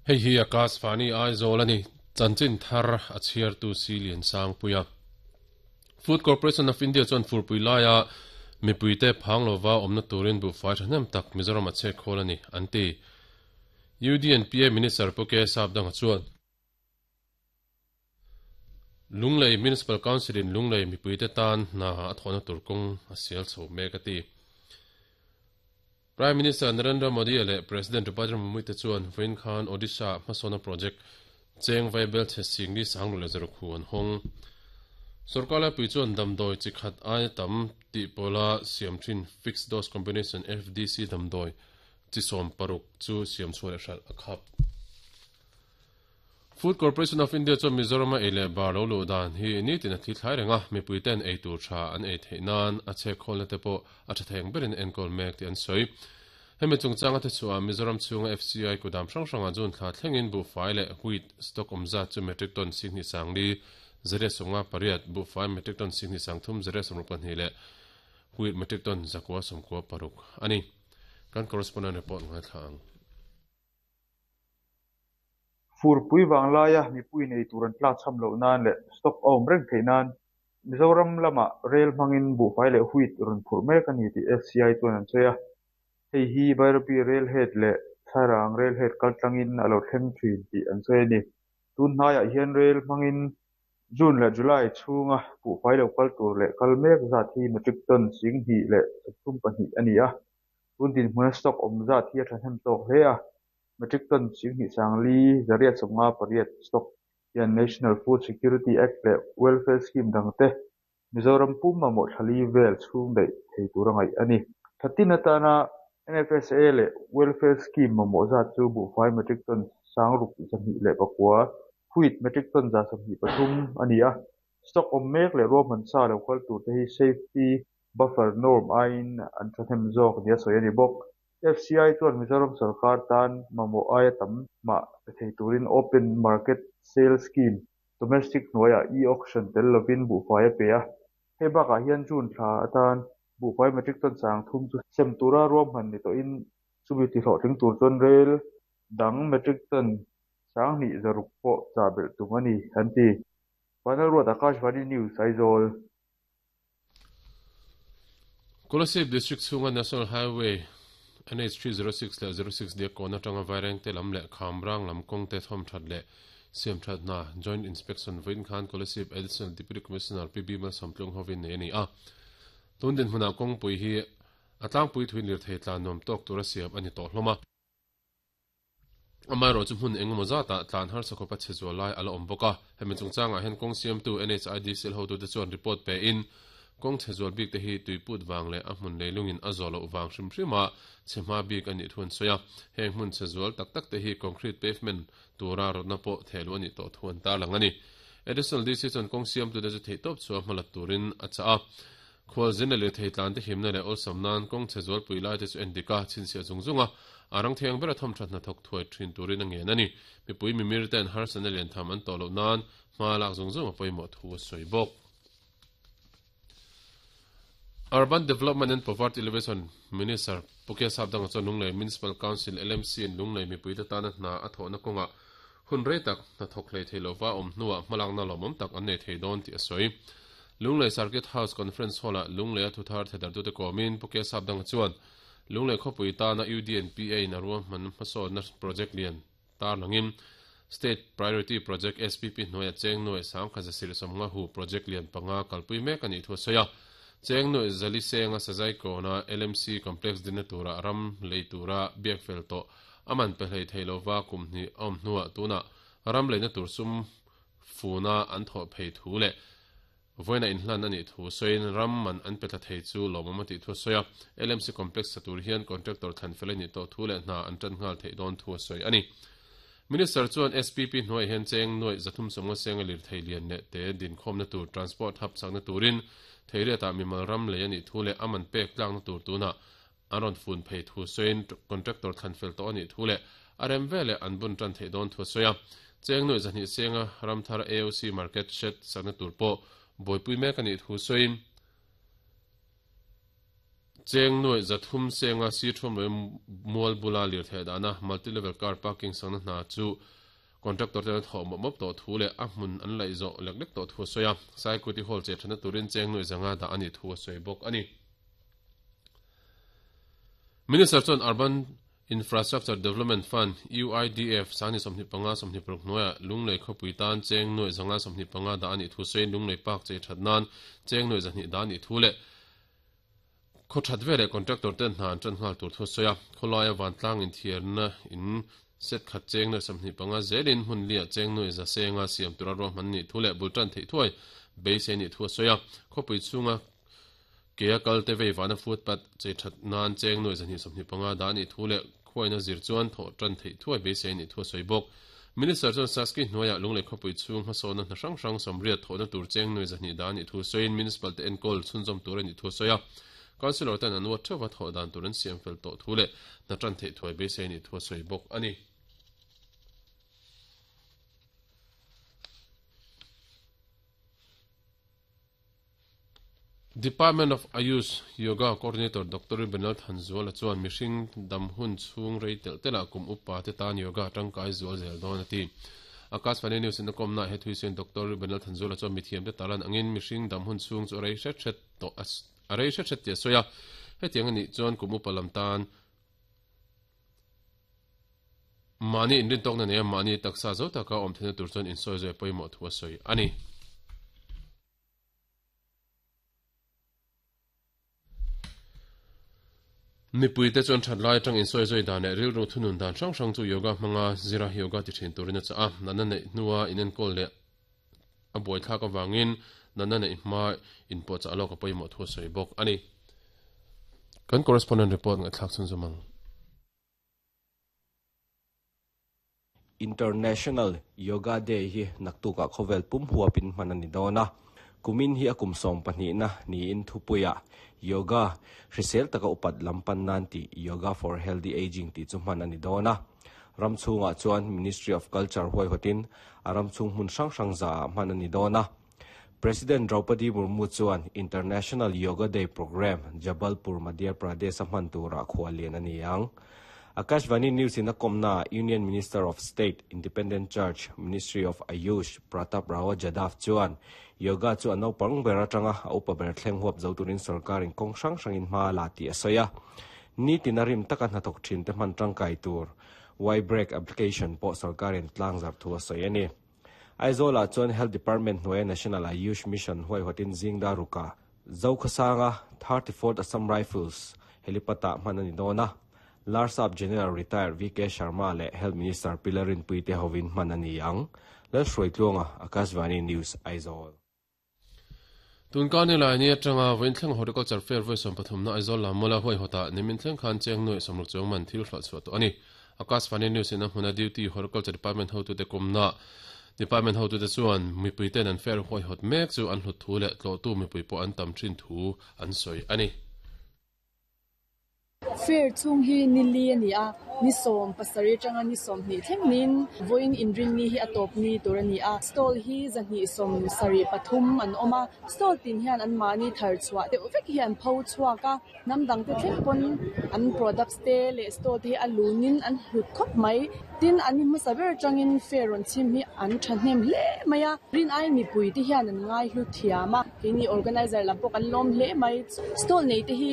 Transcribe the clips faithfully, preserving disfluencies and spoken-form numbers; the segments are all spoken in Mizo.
Hei hi Akashvani Aizawl ani chanchin thar a chhiar tu si lian sang puia Food Corporation of India chuan furpui laia mipuite phanglova awmna turin bu fai thahnem tak Mizoram a che khawl ani anti U D N P A Minister Puke Sapdanga chuan Lunglei Municipal Council in Lunglei mipuite tan na a thawhna tur kawng a sial chho mek ati Prime Minister Narendra Modi le President Draupadi Murmu te chuan Vain Khan Odisha hmasawna project cheng vaibel che singli sanglu le zero khu an hawng Sorkar pui chuan damdawi chi khat ai tam tih pawla siam thin fixed dose combination F D C damdawi chi sawm paruk chu siam chhuah leh hralh a khap Food Corporation of India chuan Mizoram a ei leh bar lo luh dan hi ni tin a thi thlai renga mipui ten ei tur tha an ei theih nan a che khawlna te pawh a tha theng berin enkawl mek tih an sawi hemi chungchanga te chhuah Mizoram chhunga F C I kudam hrang hranga jun thla thlengin buhfai leh wheat stock awmza chu metric ton sihni sangli zariat sawmnga pariat buhfai metric ton sihni sangthum zariat sawmruk pahnih leh wheat metric ton zakua sawmkua paruk ani kan correspondent report ngai thla ang Furpui wanglaia mipui nei tur an tlak cham loh nan leh stock a awm reng theih nan Mizoram lama rail hmangin buhfai leh wheat rawn phurh mek ani tih F C I chuan an sawi a hei hi Bairabi rail head leh Thlarang rail head kaltlangin a lo thleng thin tih an sawi ani tun hnaiah hian rail hmangin June leh July chhunga buhfai lo kal tur leh kal mek zat hi metric ton sing hnih leh sawmthum pahnih ani a tun dinhmuna stock awm zat hi a thahnem tawk hle a metric ton sing hnih sangli zariat sawmnga pariat stock hian National Food Security Act leh Welfare Scheme dangte Mizoram pum mamawh thlali vel chhung daih thei tur a ngaih ani thatin atana N F S A leh Welfare Scheme mamawh zat chu buhfai metric ton sangruk zahnih leh pakua wheat metric ton za sawmhnih pathum ani a stock awm mek leh ruahman sa lo kal tur te hi safety buffer norm aiin an thahnem zawk nia sawi ani bawk F C I chuan Mizoram sarkar tan mamawh aia tam mah pe thei turin open market sale scheme domestic hnuaiah e-auction tel lovin buhfai a pe a hei bakah hian June thla atan buhfai metric ton sang thum chu sem tura ruahman ni tawhin chumi ti hlawhtling tur chuan rail dang metric ton sang hnih zaruk pawh chah belh tum ani an ti Panel Road Akashvani News Aizawl Kolasib District chhunga National Highway N H three zero six leh zero six dia kawna tanga vaireng te lam leh khamrang lam kawng te thawm that leh siam that na Joint Inspection vain khan Kolasib Additional Deputy Commissioner P B Malsawmtlung hovin nei ani a tun din hmuna kawng pui hi a tlangpui thuin lir thei tlan nuam tawk tura siam ani tawh hlawm a amai ro chu hmun engemaw zata tlan har sakawpa che zual lai ala awm bawk a hemi chungchangah hian kawng siamtu N H I D C L hotu te chuan report pe in kawng che zual bik te hi tuiput wang leh a hmun leilungin a zawh loh wang hrim hrima chhema bik ani thuan sawi a heng hmun che zual tak tak te hi concrete pavement tura rawtna pawh thehlu ani tawh thuan ta lang ani Additional D C chuan kawng siamtu te chu thei tawp chu a hmalat turin a cha a khual zin leh thei tlan te himna leh awlsam nan kawng che zual pui lai te chu endika chhinchhiah zung zunga arang thiang bera thawm thatna thawk thuai thin turin a ngen ani mipui mimir ten harsana lian tham an tawh loh nan hma lak zung zung a pawimawh thu a sawi bawk Urban Development and Poverty Elevation Minister Puke Sapdanga chuan Lunglei Municipal Council L M C in Lunglei mipui te tana hna a thawhna kawnga hun rei tak hna thawk hlei thei lova awm hnuah hmalakna lawmawm tak an nei thei dawn tih a sawi Lunglei Circuit House Conference Hall-a Lunglei a thuthar thedar tute kawmin Puke Sapdanga chuan Lunglei khawpui tana U D N P A in a ruahman hmasawnna project lian tar langin State Priority Project S P P hnuaia cheng nuai sangkha zasir sawmnga hu project lian panga kalpui mek ani thu a sawi a cheng nuai zali senga sazai kawna L M C complex dinna tura ram lei tura biak fel tawh aman pe hlei thei lova kum hnih awm hnuah tuna ram leina tur sum funa an thawh phei thu leh voina inhlan ani thu sawiin ram man an pe tla thei chu lawmawm a tih thu a sawi a L M C complex sa tur hian contractor thlan fel ani tawh thu leh hna an tan nghal theih dawn thu a sawi ani Minister chuan S P P hnuai hian cheng nuai zathum sawmnga senga lir thei lian leh te dinkhawmna tur transport hub sakna turin theiriatah mimal ram lei ani thu leh aman pek tlakna tur tuna an rawn fun phei thu sawiin contractor thlan fel tawh ani thu leh a rem veleh an bun tan theih dawn thu a sawi a cheng nuai zahnih senga ramthar A O C market shed sakna tur pawh buaipui mek ani thu sawiin Cheng noi zathum senga si thom loi mual bula lir the dana multi level car parking sang na chu contractor te tho mop mop to thu le a hmun an lai zo lek lek to thu soya sai kuti hall che thana turin cheng noi zanga da ani thu soi bok ani. Minister chon Urban Infrastructure Development Fund U I D F sani somni panga somni prok noya lunglei khopui tan cheng noi zanga somni panga da ani thu sei lunglei park che thatnan cheng noi zani da ani thu le kho thatvele contractor ten hnan tran ngal tur thu soya kholaya van tlang in thiarna in set khat cheng noi somni panga zelin hun lia cheng noi za senga siam tura ro man ni thu le bultan thei thuai beise ni thu soya khopui chunga ke kal te vei vana footpath che that nan cheng noi zani somni panga da ni thu le khoina zir chuan tho tran thei thuai beise ni thu soi bok. Minister chon saski noya lungle khopui chung ha sona na hrang hrang somriat thona tur cheng noi zani da ni thu soin municipal te enkol chunjom tur ni thu soya councilor tan an wat thawa tho dan turan siam fel to thu le na tran thei thuai beise ni thu soi bok ani. Department of Ayush Yoga Coordinator Doctor Benal Thanzuala chuan mihring damhun chung reitel tela kum upa te tan yoga tangkai zual zel don ati. Akashvani News in kom na he thuisen Doctor Benal Thanzuala chuan mithiam te talan angin mihring damhun chung chu rei hret hret to a rei hret hret te soya hetiang ani chuan kum upa lam tan mani inrin tok na ne mani taksa zo taka om thena tur chuan insoi zoi poimo thua soi ani. Nipui te chuan that lai tang in soi zoi dan ril ro thunun dan hrang hrang chu yoga hmanga zira yoga ti thin turin cha a nana nei nuwa inen kol le a boi thla ka wangin nana nei ma in po cha alok poi mo thu soi bok ani. Kan correspondent report nga thlak chun zumang. International Yoga Day hi naktuka khovel pum huapin manani dona kumin hi akum som pahnih na ni in thupuya yoga hrisel taka upat lampan nan ti yoga for healthy aging ti chu man ani dona ramchunga chuan Ministry of Culture huai hotin aramchung hmun hrang hrang za man ani dona. President Draupadi Murmu chuan International Yoga Day program Jabalpur Madhya Pradesh man tura khwalian ani ang. Akashvani News in Komna Union Minister of State Independent Church Ministry of Ayush Pratap Rao Jadhav chuan yoga chu ano pang bera tanga upa ber thleng huap zo turin sarkarin kong hrang hrangin hma la ti asoya ni tinarim taka hnathawk thin te hman tangkai tur Y break application po sarkarin tlang zar thu asoya ni. Aizawl chuan Health Department hnuaia National Ayush Mission huai hotin zingda ruka Zokhasanga thirty-fourth Assam Rifles helipata hman ani dona. Larsap General Retired V K Sharma le Health Minister Pilarin Puite Hovin manani ang Lalhruaitluanga Akashvani News Aizawl. Tun kan ni lai ni atanga voin thleng horticulture fair voi som pathum na Aizawl lamola hoi hota nimin thleng khan cheng noi somruk chong man thil hla chu to ani. Akashvani News in hmuna duty horticulture department ho tu te komna department ho tu te chuan mipui ten an fair hoi hot mek chu an hlut thu le tlo tu mipui po an tam thin thu an soi ani. Fair chung hi nili ani a ni som pasari tanga ni som ni thleng nin voin inrin ni hi atop ni tur ani a stall hi zani som sari pathum an oma stall tin hian an mani thar chua te vek hian pho chuaka namdang te thleng pon an products te le stall te alunin an hlut khop mai tin ani masaber tangin fair on chim hi an thahnem hle maya rin ai mi pui te hian an ngai hlu thiama kini organizer lampok an lom hle mai stall nei te hi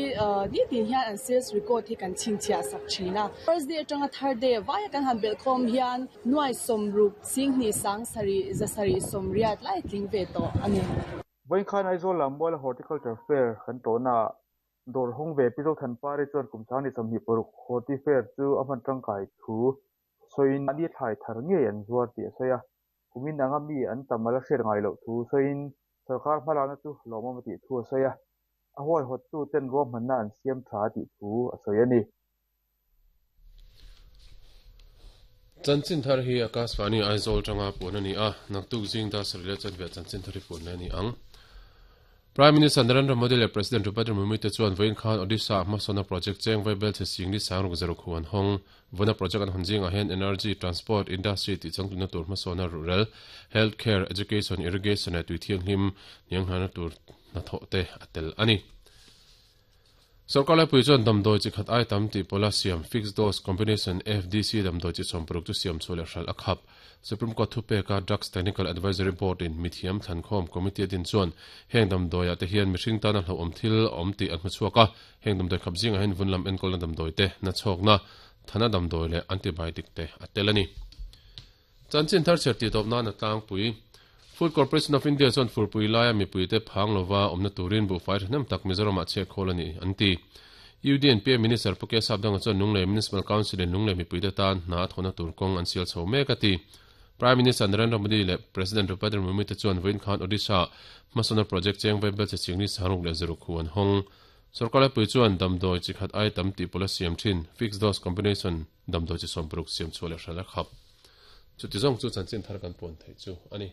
ni tin hian an sales record hi kan chingchia sak thina first day atanga third day vai kan han belkhom hian nuai somrup singni sang sari zasari somriat lai tling ve to ani. Voin khan Aizawl lammual horticulture fair kan to na dor hong ve pizo than pare chuan kum sang ni samhi poruk horti fair chu aman tangkai thu soin ani thai thar nge an zuar ti soya kumin anga mi an tamala hrer ngai lo thu soin sarkar hmalana chu lomam ti thu soya a huai hot tu ten rom man na an siam tha ti thu a soya ni. Chanchin thar hi Akashvani Aizawl tanga pun ani a naktuk jing da srile chan ve chanchin thari pun ani ang. Prime Minister Narendra Modi le President Draupadi Murmu te chuan voin khan Odisha hmasawna project cheng vaibel che singli sangruk zero khuan hong vona project an hunjing a hen energy transport industry ti changtuna tur hmasawna rural healthcare education irrigation e tuithiang hlim niang hana tur na tho te atel ani. Sarkar laipui chuan damdawi chi khat ai tam tih pawla siam fixed dose combination F D C damdawi chi sawm paruk chu siam chhuah leh hral a khap. Supreme Court thupeka Drugs Technical Advisory Board in mithiam thlankhawm committee din chuan heng damdawiah te hian mihring tana hlauhawm thil awm tih an hmu chhuak a, heng damdawi khap zingah hian vunlam enkawlna damdawi te na chhawkna thana damdawi leh antibiotic te a tel a ni. Chanchin thar chher tih tawp nan a tlangpui. Food Corporation of India chuan furpui laia mipui te phang lova awmna turin buhfai thahnem tak Mizoramah chhiat khawl a ni an ti. U D N P A Minister Pu K Sapdanga chuan Lunglei Municipal Council in Lunglei mipui te tan hna a thawhna tur kawng an sial chho mek a ti. Prime Minister Narendra Modi leh President Draupadi Murmu te chuan vawiin khan Odisha hmasawna project cheng vaibel che chingni saruk leh zaruk hu an hawng. Sarkar laipui chuan damdawi chi khat ai tam tih pawla siam thin fixed dose combination damdawi chi sawm paruk siam chhuah leh hral a khap. Chuti zawng chu chanchin thar kan puan theih chu a ni.